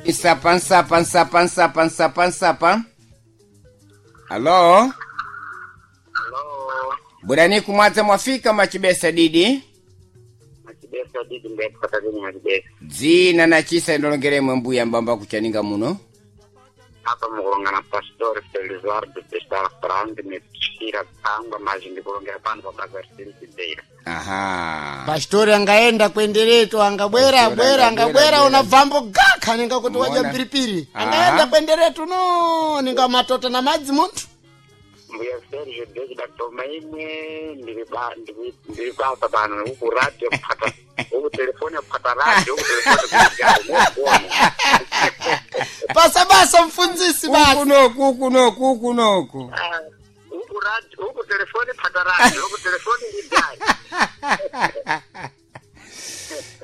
Nsapa nsapa nsapa nsapa nsapa nsapa. Alo. Alo, Burani kumwadza mwafika machibesa didi. Machibesa didi ndekupata dini machibesa. Dzina na chisa indolongeremwe mbuya mbamba kuchaninga muno. Apa mukulongana pastor Felizardo Pestal Frank nechira tsangwa mazhi ndikulongera pano pa Bazar City Beira. Aha. Pastori angaenda kwendereto angabwera Pastori bwera angabwera, angabwera bwera. unabvambo gakha ninga kuti wadya Mona. mpiripiri Aha. angaenda kwendereto no ninga matota na madzi munthu. Mbuya Sergio David Atoma imwe ndiri ba ndiri ndiri basa pano uku radio kupata uku telefoni kupata radio uku telefoni kujali mukuona. Basa basa mfunzisi basa. Uku noku uku noku uku noku. Ah, Uku radio uku telefoni pata radio uku telefoni ndijali.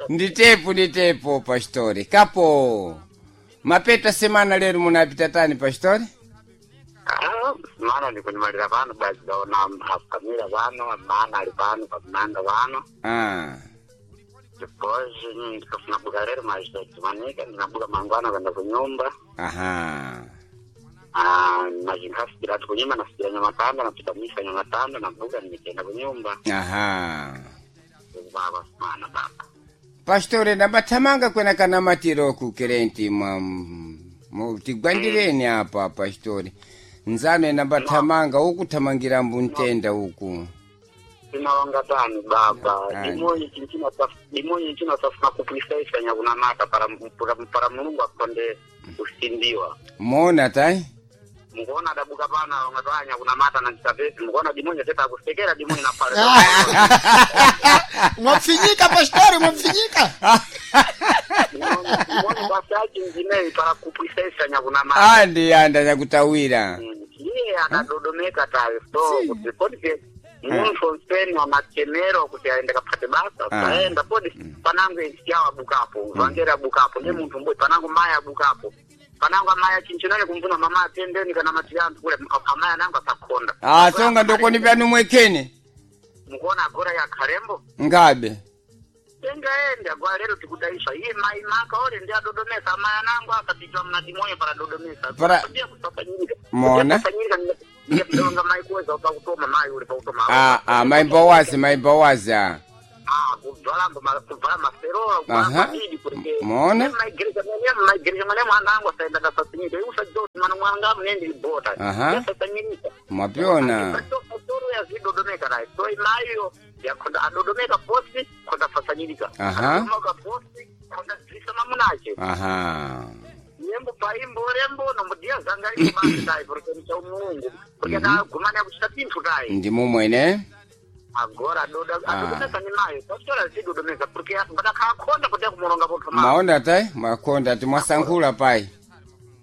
Nditepo nditepo pastori. Kapo. Mapeta semana lero munapita tani pastori? Ah, mana ndikunimalira pano basi daona akamira pano mana ali pano pamanga pano. Ah. Depois ndikafuna lero mazitodzimanika ndinabuka mangwana kuenda kunyumba. Aha. Ah, mazinkafikira kunyumba nafikira nyamatanda napita misa nyamatanda nabuka nikenda kunyumba. Aha. Baba mana baba. Pastori ndambathamanga kwena kana matiro ku kerenti mwa tigwandireni apa pastori. Nzano ndambathamanga ukuthamangira mbuntenda uku. Tinalonga tani baba. Tani. Dimonyi chinatafuna kupwisaisa nyakunamata para para Mulungu akonde kusindiwa. Mona tai? Mukuona adabuka pano alonga twanya kunamata na chisapesi mukuona dimonyi teta akusekera dimonyi na pale. Mwapfinyika pastori mwapfinyika. Dimonyi kwasachi njineyi para kupwisaisa nyakunamata. Andi anda nyakutawira. Iye akadodomeka tayo so kuti kodi munthu onseni wamachemero kuti aende kaphate basa Ah. paenda kodi panango isiyawo abukapo vangeri abukapo ndi munthu mbwe panango mayi abukapo panango amayi achinchinane kumvuna mama atendeni kana mati anthu kule amayi anango asakhonda. Ah, songa ndokoni pyanu mwekene. Mukuona agora ya khalembo Ngabe. tengaende agora lero tikudaisha iye mayi maka ore ndi adodomesa amayi anango akapitwa mna timoyo para dodomesa Para- Ndiye kusafanyika. Mona. Kusafanyika ndiye kudonga mayi kuweza pakutoma mayi uli pakutoma. Ah, ah, maimba wazi maimba wazi ah. Ah, kubvala kubvala maferola Aha. kubvala kuti Mona. maigereja mwene maigereja mwene mwana angu asaenda kasasanyika iwe usajoti mana mwana angu nende ibota Aha. yasasanyika Mwapiona. Pasoro yazidodomeka naye so imayo yakhonda adodomeka posi khonda fasanyirika. Aha. Adodomeka posi khonda dzisa mamunache. Aha. Nyembo paimbo rembo nomudiya zanga iri tayi porque ni cha Mulungu porque kagumana kuchita pinthu tayi. Ndimo mwene. Agora adoda Ah. adodomesa ni mayo pastora zidodomesa porque mbadakhakhonda kuti kumulonga pontho ma. Maona tai makonda timwasankhula pai.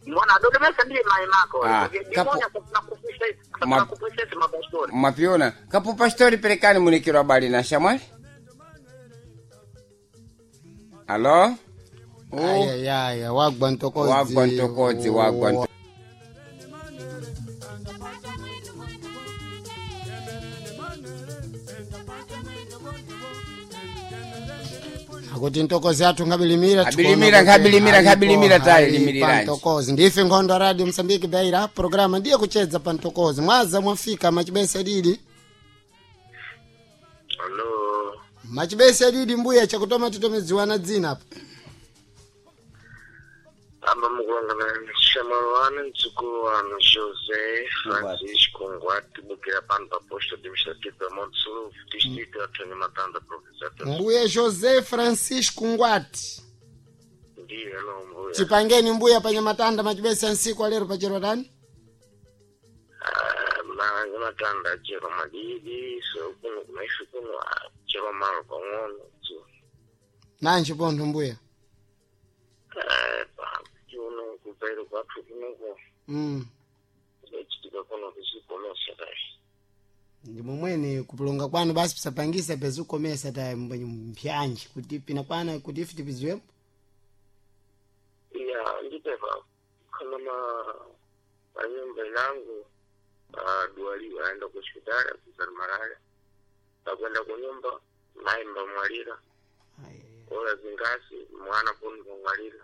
Mwana adodomesa ndiye mayi mako. Ah, Porque kapo- ndimonya kusafuna kupwisa Ma- kusafuna kupwisa mapastori. Mwapiona. Kapo pastori perekani munikiro habari na shamwali. Alo? Oh. Ayayaya wagwa ntokodzi. Wagwa ntokodzi wagwa ntokodzi. Akuti ntokozi athu ngabilimira. Abilimira, ngabilimira, ngabilimira tayi, limiriranji. Ntokozi ndife nkhondo radio Msambiki Beira programa ndiye kuchedza pa ntokozi mwaza mwafika machibesa didi. Hello. Machibesa didi mbuya chakutoma titomedziwana dzina apa. Amba mukulongana shamwali wanu mdzukulu wanu José Francisco Ngwati bukira pano pa posto administrativo ya Monte Sul, distrito ya Tony Matanda, província ya Tete. Mbuya José Francisco Ngwati. Ndiye lo mbuya. Chipangeni mbuya panyamatanda machibesa nsiku alero pachero tani. Ah, Nyamatanda achero madidi so kuno kunaife kuno achero malo pang'ono so Nanji pontho mbuya. uno kupairo kwathu kunoko kudachitika kuno kuchikomesa kai. Ndi momwene kupulonga kwanu basi pisapangisa pezukomesa ta mpyanji kuti pina kwana kuti ife tipiziwemo. Iya ndipepa kana ma panyumba inangu duwaliwa aenda ku hospitali akuzali malaria pakwenda kunyumba mayi mbamwalira ola zingasi mwana kuno mbamwalira.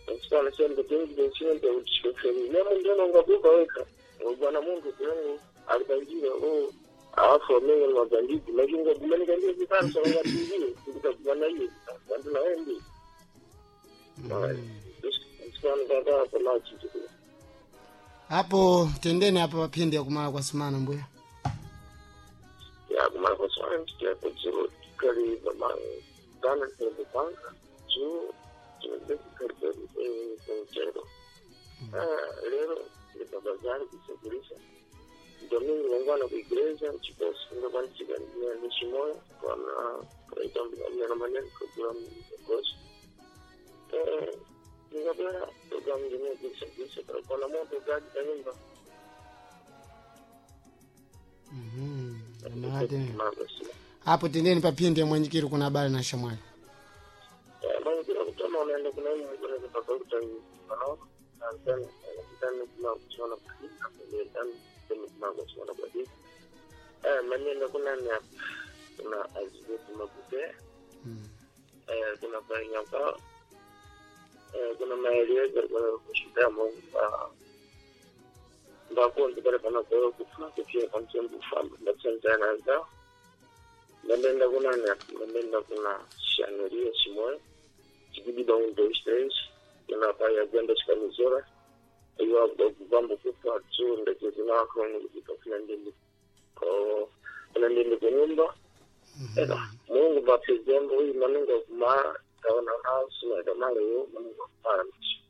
Msikana sembe tingi sembe uchifeli. Nemo ndio ngabuka weka. Bwana Mungu kwenye alibanjira oh alafu mimi ni mabandiki lakini ngomeni kandio vitano sana ngatizi ndikakubana hiyo ndio naendi. Msikana kaka kwa chitu. Hapo tendeni hapa papindi ya kumala kwa sumana mbuya. Ya kumala kwa sumana msikia kwa jiro kali mama dana kwa panga juu kali kali lero ndikabazari kusafirisha domingo ngwana ku igreja chikosi ngakwanisika nishimoya kwana kaitambia maneno kugula mgosi ndikabera programu ngine kusafirisha kwana moto gaji kanyumba. Hapo tendeni papindi ya mwenyekiri kuna habari na shamwali. Mwenyekiri kutama unaenda kuna kuna tofauti unaona Maneno kuna ni kuna azibutu makupe. Kuna panyapa. Kuna maelezo kuna kushida Mungu mbakonzi pale panakoyo kufa kupia pamsembu famba ndapsanzanaza ndabenda kuna ndabenda kuna shanuria shimoyo chikidida 1 2 3 kuna paya gwenda chikamizora iwa kuvamba kufa tsunda chezinakoni kuti kuna ndindi kuna ndindi kunyumba eka Mungu bapizembo uyu manunga kumara kaona nasu nakamaleyo manunga kumara mchi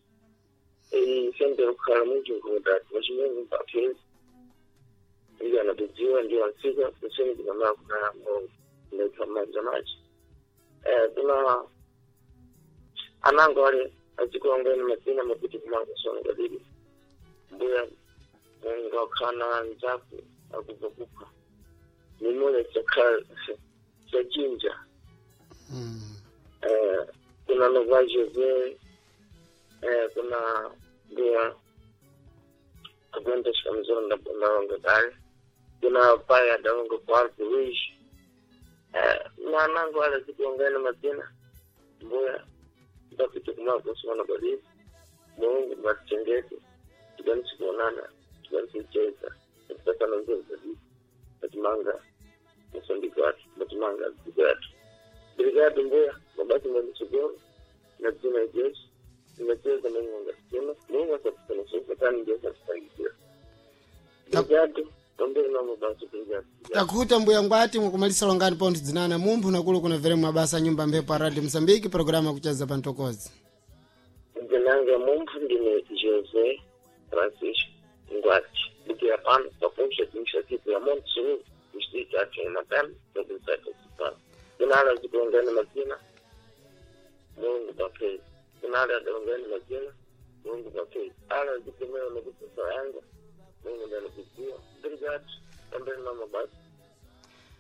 sente kukhala munjinkuda vachimungu bapezi ndiyo anatudziwa ndiyo ansika kuseni kunamaa kuna Mungu ndaitwa manja machi kuna anango ale azikulongeni mazina makuti kumango sona kadidi mbuya Mungu akhana nzaku akubva kupha mimule chachinja kuna nova Jose kuna mbuya akwenda shikamzoro ndalonga kale kuna paya ndalonga kwa Luis nanango ale zikulongeni mazina mbuya ndapita kumako sona kadidi Mungu matichengete tikwanise kuonana tikwanise kucheza tikasana nzuri kabisa batimanga mosambiki watu batimanga dziko yathu brigado mbuya mabasi mwandisogoro na dzina jesu tinacheza Mungu angasema Mungu asatusanisosatani jesu atusangidzira brigado pamberi na mabasi brigado. Takuta mbuya Ngwati mukumalisa longani ponti dzinana mumphu nakulu kuna vere mabasa nyumba mphepo a Radio Msambiki programa kucheza pantokozi. Ndinanga mumphu ndine José Francisco Ngwati ndikiya pano papunxa administrativo ya Monte Seguro distrito ya Matana província de Sofala. Kunala zikulongani mazina Mungu bapezi kunala adalongani mazina Mungu bapezi ala zikumeo nokusosa yanga Mungu ndanikudziwa brigado pamberi na mabasi.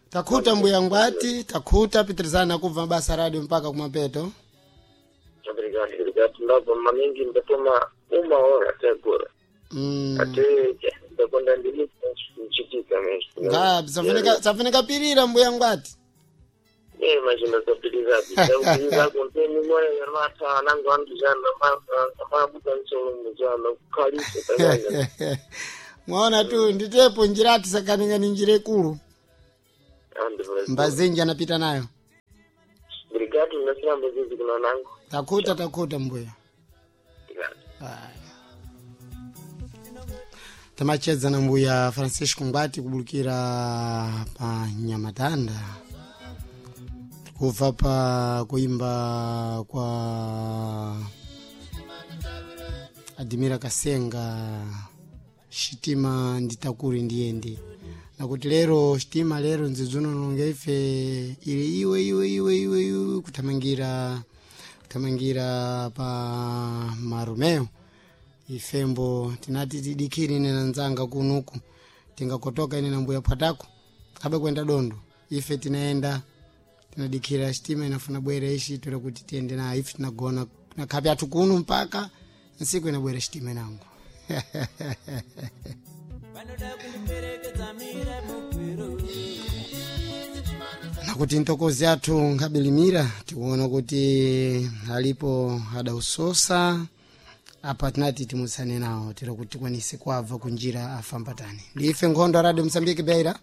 Takuta mbuya Ngwati takuta pitirizana kubva mabasa radio mpaka kumapeto. Obrigado, obrigado. Ndabva maningi ndatoma uma hora até agora. Até ndakonda ndili kuchitika mesmo. Nga safunika pirira mbuya Ngwati. Imagina zapiriza zapiriza konteni moyo yarmata nangu andijana mabuka nsolo mujana kukalisa tanyanya. Mwaona tu nditepo njirati sakaninga ni njira ikulu. Mbazinji anapita nayo. Obrigado, nasiramba zizi kuna nangu. Takuta takuta mbuya. Obrigado. Haya. Tamacheza na mbuya Francisco Ngwati kubulukira pa Nyamatanda kubva pa kuimba kwa Adimira Kasenga shitima nditakuri ndiyende nakuti lero shitima lero nzidzuno ife ili iwe iwe iwe iwe iwe kuthamangira kuthamangira pa Maromeo ifembo tinati tidikiri ine na nzanga kunuku tingakotoka ine na mbuya pwatako kabe kwenda dondo ife tinaenda tinadikira shitima inafuna bwere ishi tule kuti tiende nayo ife tinagona nakhapi athu kuno mpaka nsiku inabwera shitima inango. Nakuti ntokozi athu nkabilimira tikuona kuti alipo adausosa apa tinati timusane nawo tira kuti tikwanise kuabva kunjira afambatani ndiife nkhondo a Radio Msambiki Beira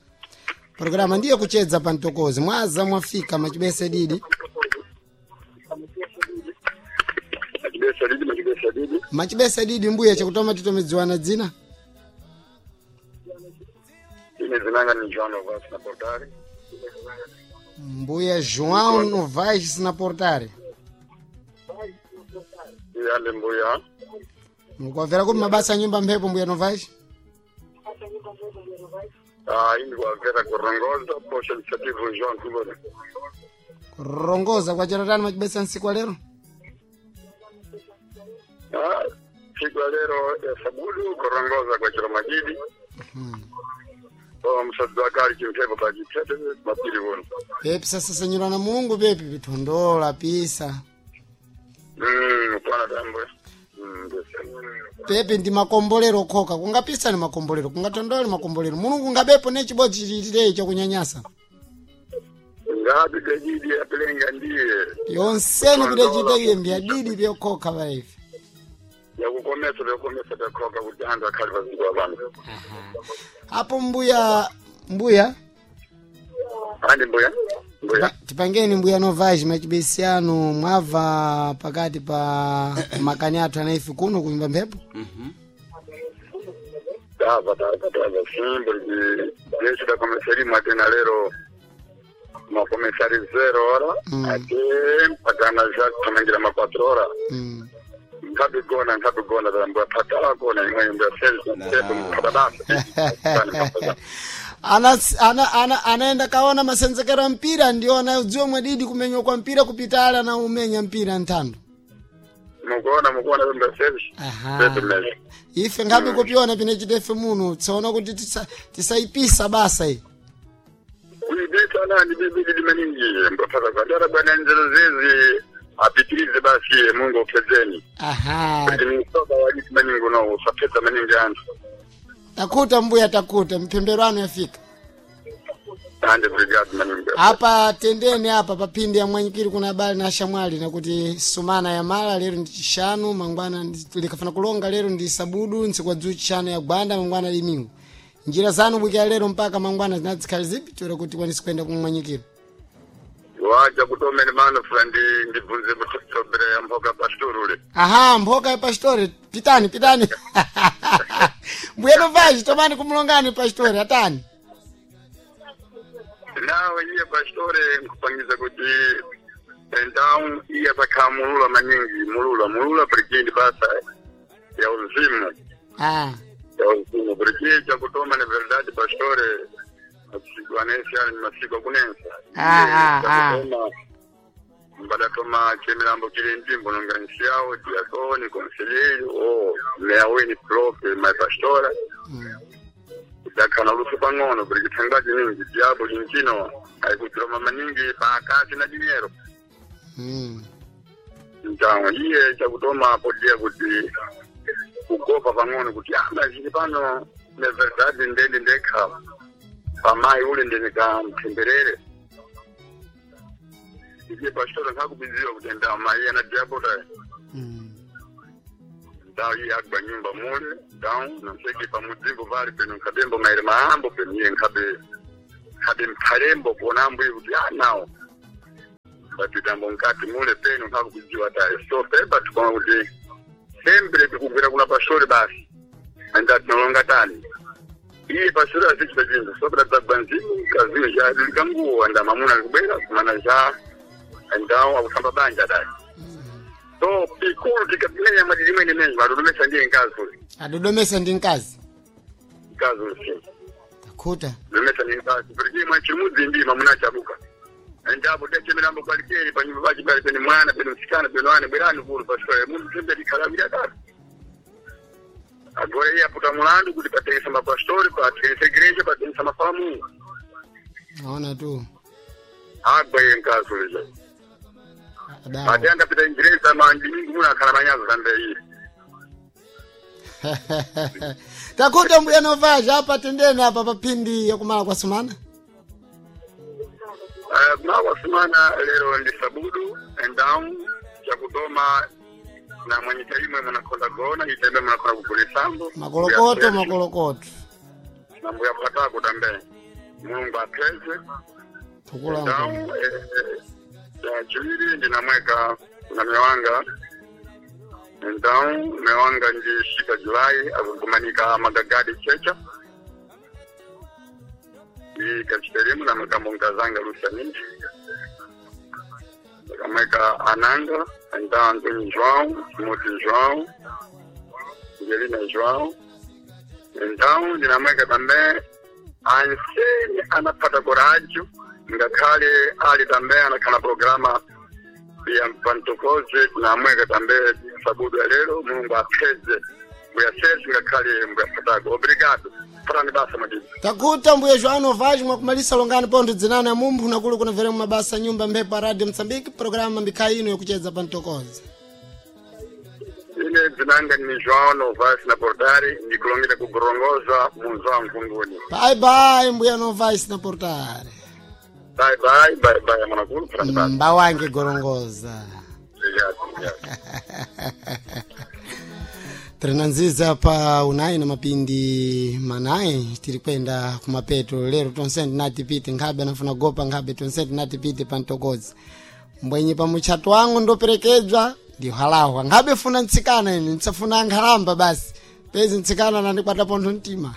programa ndiye kuchedza pa ntokozi mwaza mwafika machibese didi Machibesa didi, machibesa didi. Machibese didi mbuya chakutoma titomedziwana dzina. Ine zinanga ni João Novas na Portare. Mbuya João Novais na Portare. Yale mbuya. Mukwavera kuti mabasa a nyumba mphepo mbuya Novais? Indi kwavera kurongoza posha administrativo João Kubona. Kurongoza kwacheratani machibesa nsiku wa lero? Siku ya lero ya sabudu kurongoza kwa chiro majidi. Msadzi wakali chimphepo pachitete mapiri uno. Pepi sasa senyura na Mungu pepi pitondola pisa. Kwana tambwe. Pepe ndi makombolero okhoka kungapisa ni makombolero kungatondole makombolero mulungu ngabepo ne chibodzi chilitireyi chakunyanyasa Ngapi kejidi apelenga ndiye yonseni kudachita iye mbiyadidi vyokhoka vaife yakukomesa vyakukomesa vyakhoka kuti anthu akhale paziko abantu. Apo mbuya mbuya Andi mbuya mbuya tipangeni mbuya novaji machibesiano mwabva pakati pa makani athu anaife kuno kunyumba mphepo. Tava tava tava simbo jeshi la komesari mwatena lero makomesari 0 hora ate mpakana ja kumangira ma 4 hora. Nkabigona nkabigona mbuya patala kona imwe mbuya sel mkababasa. Ana, ana, ana, anaenda kaona masenzekero a mpira ndio anayodziwa mwadidi kumenywa kwa mpira kupitala na umenya mpira nthando. Mukuona mukuona mbuya sel. Aha. Ife ngabe kupiona pine chitefe muno tsaona kuti tisaipisa basa iyi. Kuibeta nani bibidi limaningi mbapata kwa dara bwana nzero zezi apitirize basi Mungu upezeni. Aha. Kuti msoba waliti maningi no usapeza maningi anthu. Takuta mbuya takuta mpembero anu yafika. Ande brigade maningi. Apa tendeni apa papindi ya mwanyikiri kuna habari na shamwali nakuti sumana ya mala lero ndi chishanu mangwana likafana kulonga lero ndi sabudu ntsiku dzu chishanu ya gwanda mangwana limingu. Njira zanu bwikira lero mpaka mangwana zinazikhali zipi toera kuti kwanisi kwenda kumwanyikiri. Waja kutomene mano fula ndi ndibvunze mutobere ya mboka pastorule. Aha, mboka ya pastori pitani pitani. Mbuya novaji tomani kumulongani pastori atani. Nawe iye pastore nkupangiza kuti então iye atakhala mulula maningi mulula mulula brigade basa ya uzimu. Ah. Ya uzimu porque chakutoma ni verdade pastore masiku anesi ali ni masiku akunensa. Chakutoma mbadatoma chemilambo chili mtimbo nonga nsiyawo diakoni conselheiro o meya weni profe mai pastora. Dakana luso pang'ono porque thangaji ningi diabo linchino aikutiroma maningi pakati na dinheiro. Então iye chakutoma podia kuti kugopa pang'ono kuti mazini pano ne verdade ndende ndekha pamayi ule ndinikamtemberere iye pastora nkakubiziwa kuti ndawo mayi ana diabota. Ndawo iye agba nyumba mule ndawo noseki pamudzimbo pali peno nkhabembo maere maambo peno iye nkhabe nkhabe mphalembo kuona ambuye kuti nawo batitambo nkati mule peno nkakubiziwa tayi so pepa tikuona kuti sempre tikugwira kuna pastori basi anda tinolonga tani iye pastori azichita chinthu sopera dzagwa nzimu kaziwe cha likanguwo anda mamuna likubwera kumana cha andawo akusamba banja dai so pikulu tikapimenya mwadidi mwene menji adodomesa ndiye nkazi uli. Adodomesa ndi mkazi. Nkazi uli si Takuta. domesa ndi nkazi porque imwe chimudzi ndi mamuna achabuka ndapo dechemirambo kwalikeri panyumba pachi pali pene mwana pene msikana pene wane bwerani kuno pastori munthu sembe tikhalawira katu agora iye aputa mulandu kuti patengesa mapastori patengesa igreja patengesa mafamu. Naona tu. Agwa iye nkazi uliza. Adawa. Ate angapita ingereza mandi mingi muno akhala manyazo zambe iye. Takuta mbuya novaja apa tendeni apa papindi yakumala kwa sumana. Kumala kwa sumana lero ndi sabudu endawu chakutoma na mwanyika imwe munakonda gona itembe munakonda kugulisambo Makolokoto makolokoto. Na mbuya patako tambe mulungu apeze. Tukula. Endawu ya chiwiri ndinamweka na mewanga então mewanga ndi shika julai akugumanika magagadi checha i kachiterimu na makambo nkazanga lusaniji akamweka ananga então Antônio João Timóteo João Angelina João então ndinamweka tambe anseni anapata coraggio ngakhale ali tambe anakhala programa ya mpantokoze kunamweka tambe sabudu ya lero mulungu apheze mbuya sesi ngakhale mbuya fatako obrigado fatani basa madidi. Takuta mbuya João Novaes mwakumalisa longani pontho dzinana mumphu nakulu kunamvera mabasa nyumba mphepo a Radio Mozambique programa mbikhayi ino yakucheza pa mtokoza. Ine dzinanga ni João Novas na Portari, ndikulongera kugorongoza munzo wa Mkunguni. Bye bye mbuya Novais na Portare. Bye bye bye bye mwanakulu fulani basi. Mba wange gorongoza. Obrigado, obrigado. Tirinanziza pa unayi na mapindi manayi tiri kwenda kumapeto lero tonse ndinatipite nkhabe anafuna gopa nkhabe tonse ndinatipite pa mtokodzi mbwenye pa mutchato wangu ndoperekedzwa ndihalahwa nkhabe funa ntsikana ine ntsafuna nkhalamba basi pezi ntsikana nandikwata pontho mtima.